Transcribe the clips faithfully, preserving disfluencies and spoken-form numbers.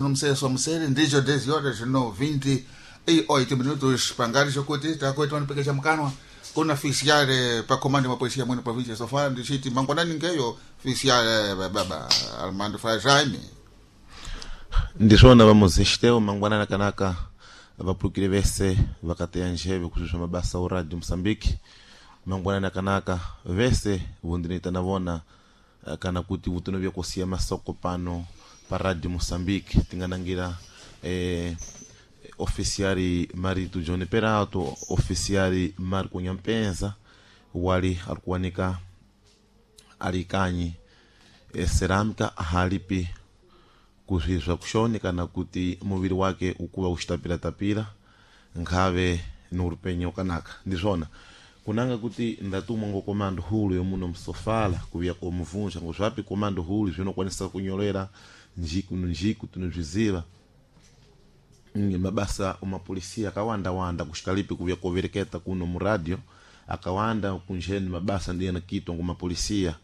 Nomseso msele ndicho dez horas no vinte e oito minutos pangari chokuti takoitwa nipekesha mkanwa kuna fisiare pa komando wa polisia mwene provincia sofala ndichiti mangwanani ngeyo fisiare baba Armando Frajaime. Ndiswona vamuzixiteo mangwanana kanaka vapulukile vese vakateya njeve kuxuxa mabasa o radio Moçambique. Mangwanana kanaka vese vundinita na vona eh, kana kuti vutono vyakusiya masoko pano pa radio Moçambique tinganangira eh, oficiari Marito John Perato, oficiari Marco Nyampenza wali alikuwanika alikanyi e, cerâmica halipi kuzvizva kushoni kana kuti muviri wake ukuva uchitapiratapira nkhave ni ukanaka. Ndizvona kunanga kuti ndatumwa ngo komando hulu yomuno msofala kuviya komuvunja ngo zvapi komando hulu zvinokwanisa kunyolera njiku no njiku tinozviziva. Mm, mabasa omapolisia akawandawanda kuxikalipi kuviya kovereketa kuno mu radio akawanda kunjeni mabasa ndiyena kitwa ngo mapolisia.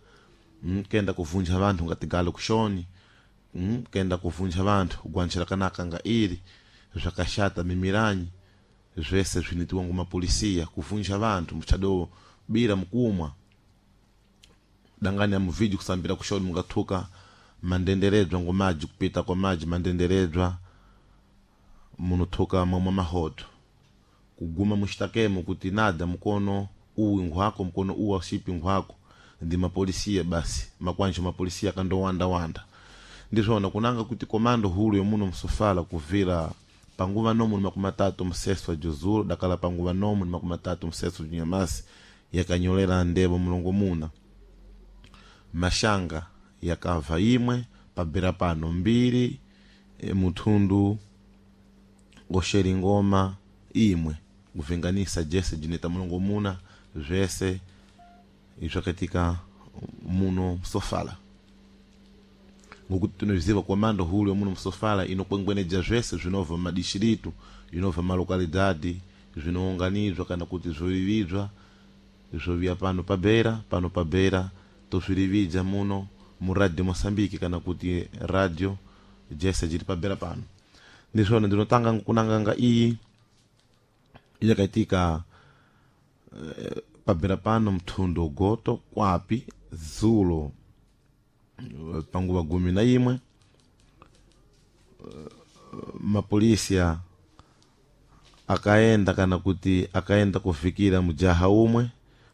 mm, kenda kuvunja vanthu ngatigalo kuxoni, mm, kenda kuvunja vanthu kugwanjira kanaka nga iri zvakaxata mimiranyi zvese zvinitiwa ngo mapolisia kuvunja vanthu muchado bira mukumwa dangani ya muvidyo kusambira kuxoni mungathuka mandenderedzwa ngo maji kupita kwa maji mandenderedzwa munothuka momwe mahoto kuguma muxitakemo kuti nada mukono uwi nkhwako mukono uwu auxipi nkhwako ndi mapolisia basi makwanja mapolisia akandowandawanda. Ndizvona kunanga kuti komando hulu yomuno msofala kuvira panguva nomu ni makumi matatu mseso wa juzulu dakala panguva nomu ni makumi matatu mseso wa junyamasi yakanyolera ndevo mulongo muna mashanga yakava imwe pabera pano mbiri e, muthundu oxeringoma imwe kuvinganisa jese jineta mulongo muna zvese izvakatika muno msofala ngokuti tinozviziva komando hulu yomuno msofala inokwengweneja zvese zvinobva mumadishiritu zvinobva malokalidade zvinounganidzwa kana kuti zvorividzwa zvoviya pano pabera pano pabera tozvirivидza muno mu radio Moçambique kana kuti radio jese jiri pabera pano. Ndizvona ndinotanga nkunanganga iyi yakaitika eh, pabera pano mthundo goto kwapi zulo eh, panguva gumi na imwe eh, mapolisia akaenda kana kuti akaenda kufikira mujaha umwe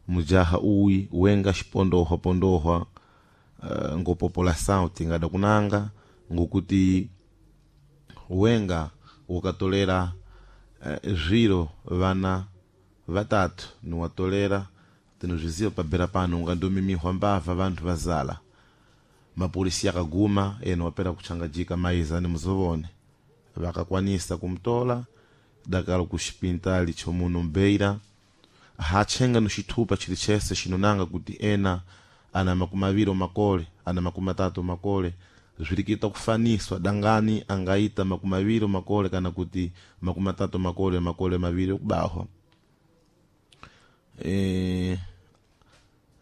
mujaha uwi wenga xipondohwa pondohwa uh, ngo população tingada kunanga ngokuti wenga wakatolera uh, zviro vana vatatu niwatolera tinozviziva pabera pano ungandomimihwa mbava vanthu vazala mapolisi akaguma ena wapera kuchangajika maiza ni muzovone vakakwanisa kumtola dakalo kuxipintali chomuno mbeira hatchenga no xithupa chili chese xinonanga kuti ena ana makumi aviri makole ana makumi atatu makole zvirikita kufaniswa dangani angaita makumi aviri makole kana kuti makumi atatu makole makole maviri okubahwa e,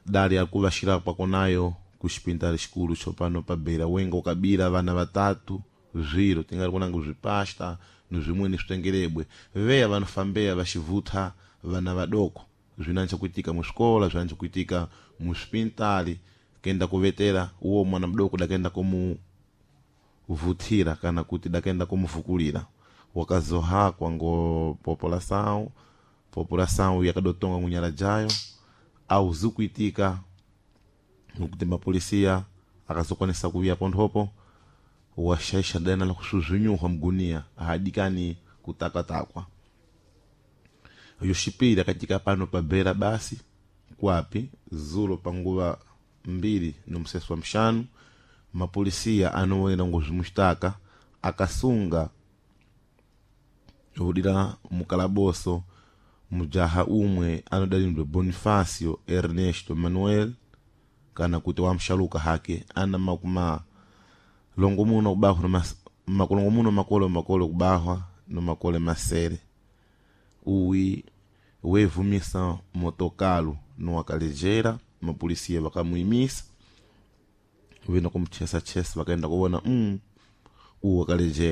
dali akuvaxira kwakonayo kuxipintali xikulu xopano pa beira wenga ukabira vana vatatu zviro tingari kunanga zvipasta nozvimweni zvitengerebwe veya vanofambeya vaxivutha vana vadoko zvinancha kuitika muxikola zvinancha kuitika muxipintali kenda kuvetera uwo mwana mudoko dakenda kumuvuthira kana kuti dakenda kumuvukulira wakazohakwa ngo população população yakadotonga ngunyala jayo auzi kuitika ngokuti mapolisia akazokwanisa kuviya ponthopo washaisha dena la kusuzunyuhwa mgunia ahadikani kutakwatakwa yoxipiri katika pano pabera basi kwapi zulo panguva mbiri nomseso wa mxanu mapolisia anowera ngozvimustaka akasunga hudira mukalaboso mujaha umwe anodalindwe Bonifacio Ernesto Manuel kana kuti wamxaluka hake ana makuma longo muno kubahwa makulongo muno makole makole kubahwa no makole masere uwi wevumisa motokalo no akalejera mapolisia vakamuimisa vena kumuchesa chesa vakaenda kuona mm, uwu akalejera.